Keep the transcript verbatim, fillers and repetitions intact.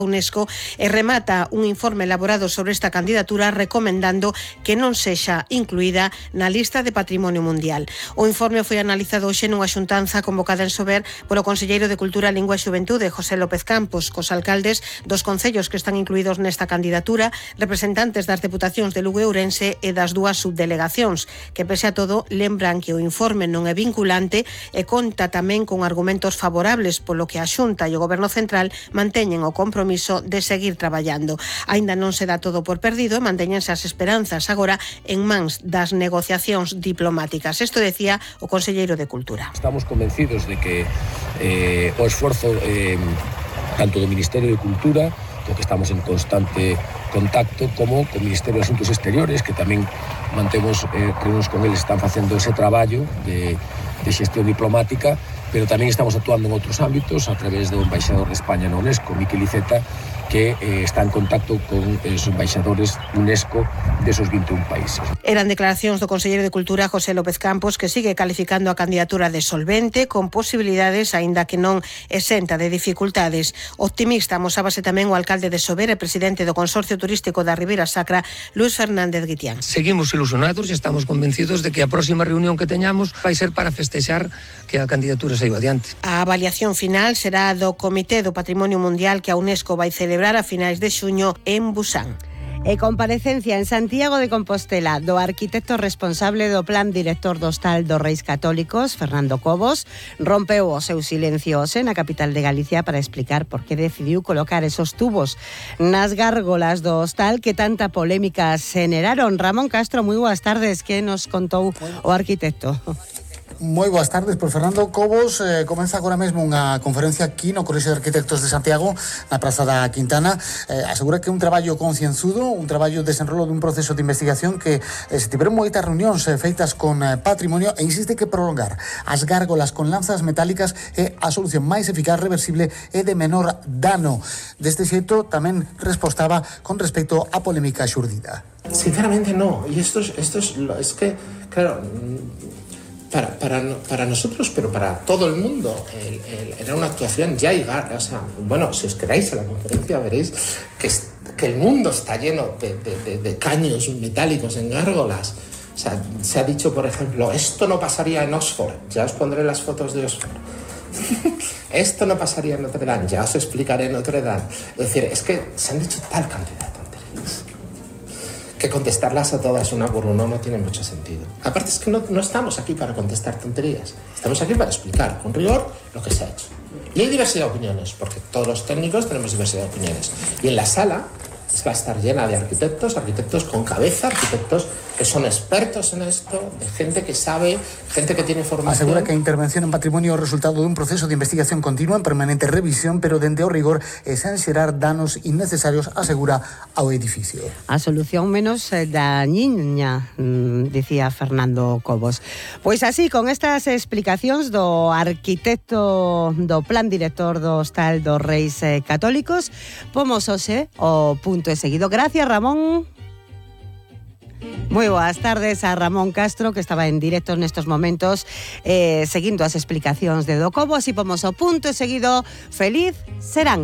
UNESCO e remata un informe elaborado sobre esta candidatura recomendando que non sexa incluída na lista de Patrimonio Mundial. O informe foi analizado hoxe nunha xuntanza convocada en Sober polo Conselleiro de Cultura, Lingua e Xuventude, José López Campos, cos alcaldes dos concellos que están incluídos nesta candidatura, representantes das deputacións de Lugo e Ourense e das dúas subdelegacións, que pese a todo lembran que o informe non é vinculante e conta tamén con argumentos favorables, polo que a Xunta e o Goberno Central manteñen o compromiso de seguir traballando. Aínda non se dá todo por perdido e mantéñense as esperanzas agora en mans das negociacións diplomáticas. Isto decía o Conselleiro de Cultura. Estamos convencidos de que eh, o esforzo eh, tanto do Ministerio de Cultura, co que estamos en constante contacto, como co Ministerio de Asuntos Exteriores, que tamén mantemos eh, reunións con eles, están facendo ese traballo de, de xestión diplomática, pero tamén estamos actuando en outros ámbitos a través do embaixador de España na UNESCO, Miquel Iceta, que eh, está en contacto con os embaixadores UNESCO desos vinte e un países. Eran declaracións do Conselleiro de Cultura, José López Campos, que sigue calificando a candidatura de solvente, con posibilidades, aínda que non exenta de dificultades. Optimista amosábase tamén o alcalde de Sober e presidente do Consorcio Turístico da Ribeira Sacra, Luis Fernández Guitián. Seguimos ilusionados e estamos convencidos de que a próxima reunión que teñamos vai ser para festexar que a candidatura saiu adiante. A avaliación final será do Comité do Patrimonio Mundial que a UNESCO vai celebrar a finais de xuño en Busan. E comparecencia en Santiago de Compostela do arquitecto responsable do Plan Director do Hostal dos Reis Católicos, Fernando Cobos, rompeu o seu silencio hoxe na capital de Galicia para explicar por que decidiu colocar esos tubos nas gárgolas do hostal que tanta polémica xeneraron. Ramón Castro, moi boas tardes, que nos contou o arquitecto? Moi boas tardes, por Fernando Cobos. Eh, comeza agora mesmo unha conferencia aquí no Colexio de Arquitectos de Santiago, na Praza da Quintana. Eh, asegura que é un traballo concienzudo, un traballo de desenrolo dun proceso de investigación que eh, se tiveron moitas reunións eh, feitas con eh, patrimonio, e insiste que prolongar as gárgolas con lanzas metálicas é a solución máis eficaz, reversible e de menor dano. Deste xeito tamén respostaba con respecto á polémica xurdida. Sinceramente no, y esto es, esto es, es que, claro, Para, para, para nosotros, pero para todo el mundo, el, el, era una actuación ya y o sea, bueno, si os quedáis a la conferencia veréis que, que el mundo está lleno de, de, de, de caños metálicos en gárgolas. O sea, se ha dicho, por ejemplo, esto no pasaría en Oxford, ya os pondré las fotos de Oxford. Esto no pasaría en Notre Dame, ya os explicaré en Notre Dame. Es decir, es que se han dicho tal cantidad de tonterías que contestarlas a todas una por uno no tiene mucho sentido. Aparte es que no, no estamos aquí para contestar tonterías, estamos aquí para explicar con rigor lo que se ha hecho. Y hay diversidad de opiniones, porque todos los técnicos tenemos diversidad de opiniones. Y en la sala va a estar llena de arquitectos, arquitectos con cabeza, arquitectos que son expertos en esto, de gente que sabe, gente que tiene formación. Asegura que a intervención en patrimonio é o resultado dun proceso de investigación continua en permanente revisión, pero dende o rigor e sen xerar danos innecesarios, asegura ao edificio. A solución menos dañiña, dicía Fernando Cobos. Pois así, con estas explicacións do arquitecto do Plan Director do Hostal dos Reis Católicos, pomos hoxe o punto e seguido. Gracias, Ramón. Moi boas tardes a Ramón Castro, que estaba en directo nestos momentos eh, seguindo as explicacións de Do Cobos, e pomos o punto e seguido. Feliz serán.